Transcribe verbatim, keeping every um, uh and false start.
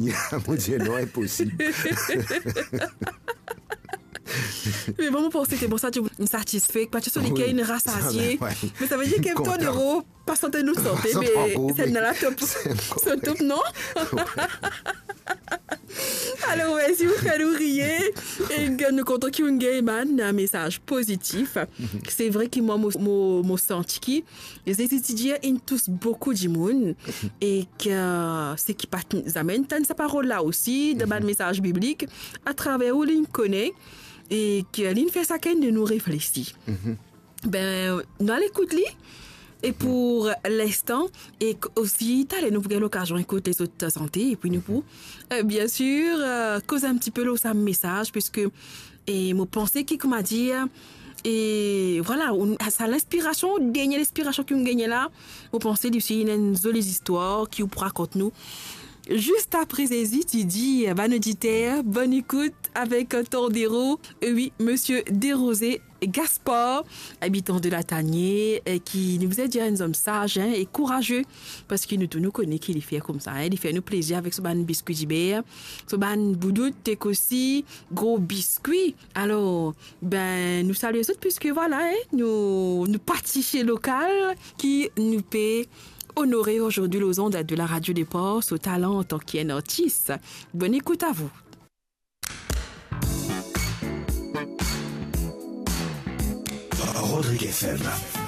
Mo dir, non, inposib. Me bon, mo panse ke bon, sa, to inn satisfe, pa ti so lekel inn rasasie. Wi. Me sa ve dir ke Tordero pa sante nou sante, me senn la top. Top, non? Alor, mersi pou fer nou riye. E nou kontan ki ou'nn gagn bann mesaz pozitif. Se vre ki mwa, mo, mo, mo santi ki Zezi ti dir inn tous boukou dimoun, e ki, seki pa t-, zame inn tann sa parol la osi, dan bann mesaz biblik, atraver ou li'nn kone, e ki li'nn fer sakenn de nou reflesi. Be, nou al ekout li, e pou linstan, e k-, osi, taler nou pou gagn lokazion ekout lezot sante, epi nou pou, e, biensir, e, koz enn tipe lor sa mesaz, piske, e, mo panse ki, kouma dir, e, vwala, ou, sa linspirasion, dernie linspirasion ki ou'nn gagne la, mo panse li osi ena enn zoli zistwar ki ou pou rakont nou. Zis apre Zezi ti dir, bann oditer, bonn ekout avek Tordero, e wi, Misie Derose Gaspard, abitan de Latanie, e ki nou bizin dir enn zom saz, en, e kouraze, parski nou tou nou kone ki li fer koumsa, en, li fer nou plezir avek so bann biskwi diber, so bann boudout, ek osi gro biskwi. Alor, be, nou salie zot, piske vwala, en, nou, nou parti se lokal ki nou pe onore azordi lor zond de la Radio des Ports so talan antan ki enn artis. Bonn ekout a vou. Rodrigue F M.